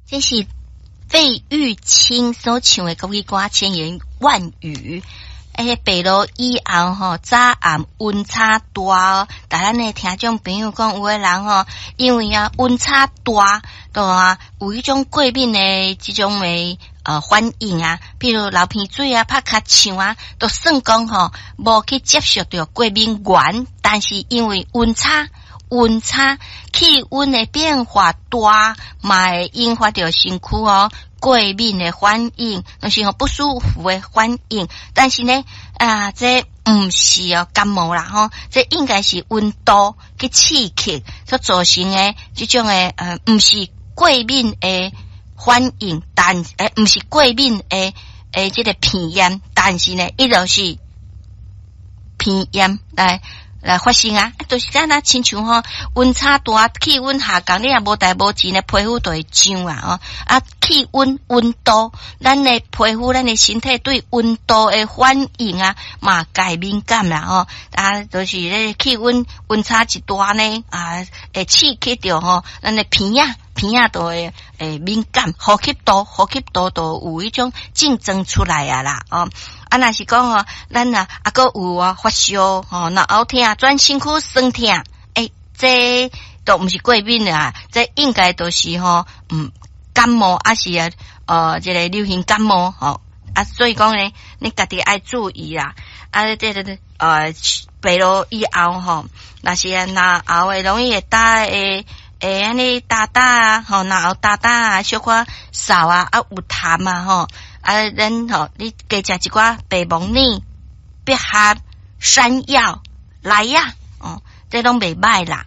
這是費玉清所唱的國語歌《千言萬語》。欸，白露以後吼，早暗溫差大，但咱的聽眾朋友講，有的人吼，因為啊溫差大，就啊有彼種過敏的這種的反應啊，譬如流鼻水啊、拍尻槍啊，都算講吼無去接觸著過敏原，但是因為溫差。溫差氣溫的變化大，嘛會引發著身軀哦過敏的反應，就是吼不舒服的反應。但是呢，啊，這毋是哦感冒啦吼，這應該是溫度去刺激所造成的這種的毋是過敏的反應，但毋是過敏的這个鼻炎，但是呢，伊就是鼻炎來發生啊，就是敢若親像吼溫差大，氣溫下降，你若無代無誌呢，皮膚就會癢啊吼。啊，氣溫溫度，咱的皮膚、咱的身體對溫度的反應啊，嘛會敏感啦吼。啊，就是咧氣溫溫差一大呢，啊，會刺激著吼，咱的鼻仔鼻仔就會敏感，呼吸道就有彼種症狀出來啊啦哦。啊，若是講吼，咱啊啊，閣有啊發燒吼，腦後疼、全身軀酸疼，欸，這都毋是過敏啊，這應該都是吼，感冒抑是啊，這个流行感冒吼，啊，所以講呢，你家己愛注意啦，啊，這個白露以後吼，若是啊，嚨喉會容易會焦會會按呢焦焦啊，吼，嚨喉焦焦啊，小可嗽啊，啊有痰啊，吼。啊，咱吼，你加食一寡白木耳、百合、山藥來啊，哦，這攏袂䆀啦。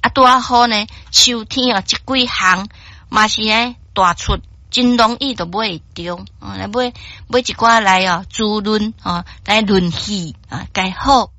啊，拄仔好呢，秋天哦，這幾項嘛是呢大出，真容易就買會著，哦，來買買一寡來哦，滋潤哦，來潤氣啊，蓋好。